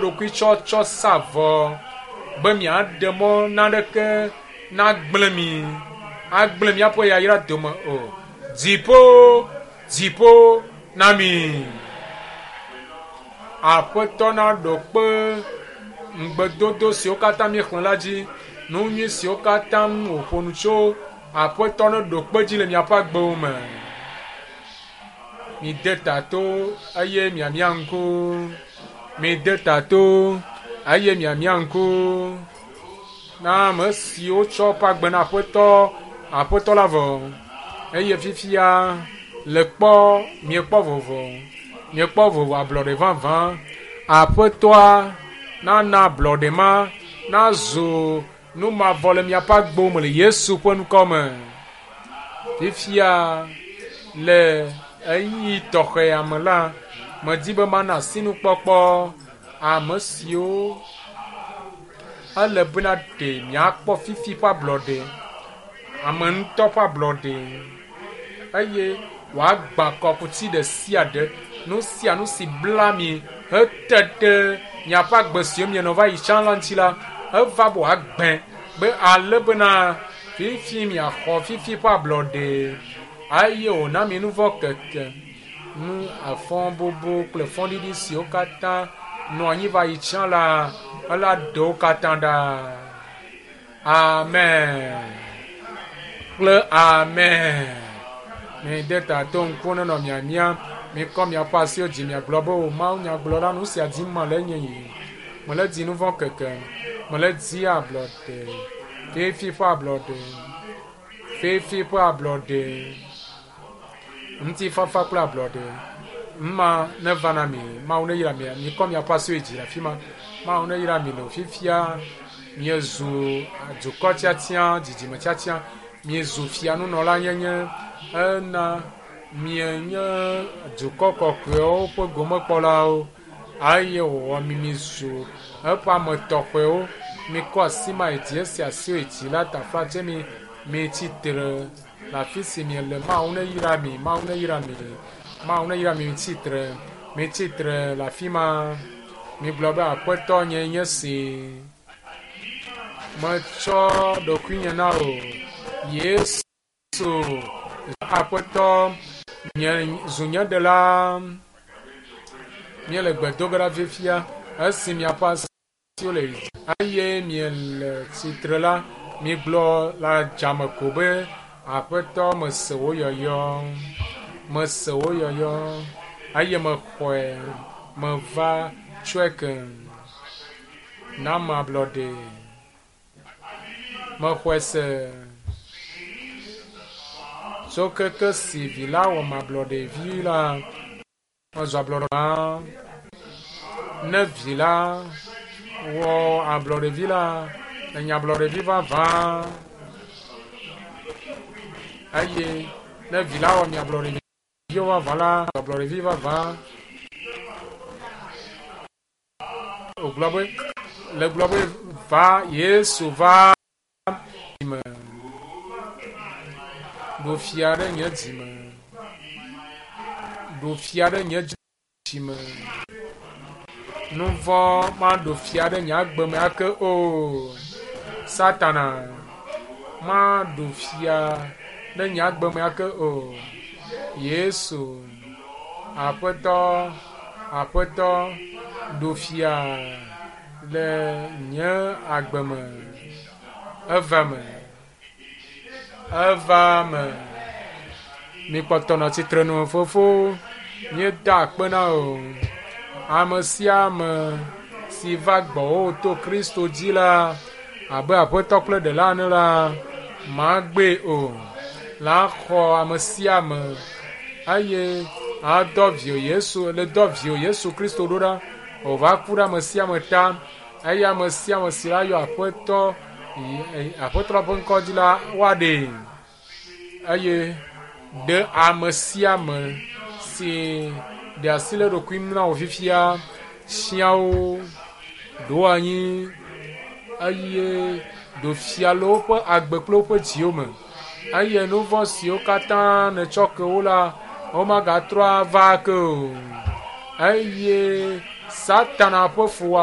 ɖokui tsɔtsɔ sa vɔ be miaɖe mɔ naneke nagblẽ mi, agblẽ míaƒe yayra dome o. Dziƒo, dziƒo na mi. Aƒetɔ naɖo kpe ŋugbedodo siwo katã míexlẽ la dzi, nu nyui siwo katã wòƒo nu tso. Aƒetɔ neɖo kpe dzi le miaƒe agbewo me. Mide ta to eye miamia ŋku. Mide ta to eye miamia ŋku na ame siwo tsɔ woƒe agbe na Aƒetɔ, Aƒetɔ la vɔ. Eye fifia le kpɔ, miekpɔ vovo, miekpɔ vovo ablɔɖe vavã. Aƒetɔa nana ablɔɖe ma nazu nu mavɔ le miaƒe agbewo me le Yesu ƒe ŋkɔ me. Fifia le ɣeyiɣi tɔxɛa me la, medi be mana asinukpɔkpɔ ame siwo ele bena ɖe miakpɔ fifi ƒe ablɔɖe, ame ŋutɔ ƒe ablɔɖe eye wòagbã kɔkuti ɖe sia ɖe, nu sia nu si bla mi hete ɖe miaƒe agbe siwo mienɔ va yi tsã la ŋuti la, eva be wòagbẽ be ale bena fifi miaxɔ fifi ƒe ablɔɖe eye wòna mi nu vɔ̃ keke, nu afɔbubu kple fɔɖiɖi siwo katã nɔ anyi va yi tsã la, ela ɖe wo katã ɖa. Amen kple amen. Mide ta to ŋku nenɔ miamia. Mikɔ miaƒe asiwo dzi miagblɔ be o Mawu nyagblɔla nu sia dim mele nye yi. Mele di nu vɔ̃ keke. Mele di ablɔɖe. Fifi ƒe ablɔɖe. Fifi ƒe ablɔɖe. Ŋutifafa kple ablɔɖe. Mma neva na mi. Mawu neyra mi. Mikɔ miaƒe asiwo dzi le afi ma. Mawu neyra mi le fifia. Miezu dukɔ tiatia, dzidzime tiatia. Miezu fianunɔla nyenye. Ena mienye dukɔ kɔkɔewo ƒe gomekpɔlawo eye wòwɔ mi mizu eƒe ame tɔxɛwo. Mikɔ asi ma yi dzi esi asiwo yi dzi la taflatse mi mitsi tre le afi si miele. Mawu neyra mi, Mawu neyra mi, Mawu neyra mi. Mitsi tre, mitsi tre le afi ma. Migblɔ be Aƒetɔ nye nye si. Metsɔ ɖokuinye na wò. Yesu Aƒetɔ nye zu nye ɖela. Míele gbe do ge ɖa fifia esi miaƒe asiwo le dzi eye miele tsitre la, migblɔ le adzame ko be Aƒetɔ mese wò yɔyɔ, mese wò yɔyɔ eye mexɔe, meva tsɔe ke. Nam ablɔɖe. Mexɔe se. Tso keke si vi la wɔ ablɔɖevi la, mezu ablɔɖe. Ne vi la wɔ ablɔɖevi la, enye ablɔɖevi vavã. Eye ne vi la wɔ mi ablɔɖeviwo vavã la, ablɔɖevi vavã. Wògblɔ be, le gblɔ be va Yesu va dzime. Ɖo fia ɖe nye dzime. Ɖo fia ɖe nye dzime. Nu vɔ̃ maɖo fia ɖe nye agbe me ake o. Satana maɖo fia ɖe nye agbe me ake o. Yesu, Aƒetɔ, Aƒetɔ, ɖo fia le nye agbe me. Eva me. Eva me. Mikpɔtɔ nɔ tsitre nu fofo. Míeda akpe na wò. Ame sia ame si va gbɔwò to Kristo dzi la, abe Aƒetɔ kple Ɖela ene la, magbee o. La xɔ ame sia ame eye adɔ viwò Yesu, le dɔ viwò Yesu Kristo ɖo ɖa wòva ku ɖe ame sia ame ta eye ame sia ame si la yɔ Aƒetɔ Aƒetɔ la ƒe ŋkɔ dzi la, woaɖee. Eye ɖe ame sia ame si ɖe asi le eɖokui ŋu na wò fifia sia wo ɖo anyi eye ɖo fia le woƒe agbe kple woƒe dziwo me. Eye nu vɔ̃ siwo katã nètsɔ ke wo la, womagatrɔ ava ake o. Eye Satana ƒe fuwɔame.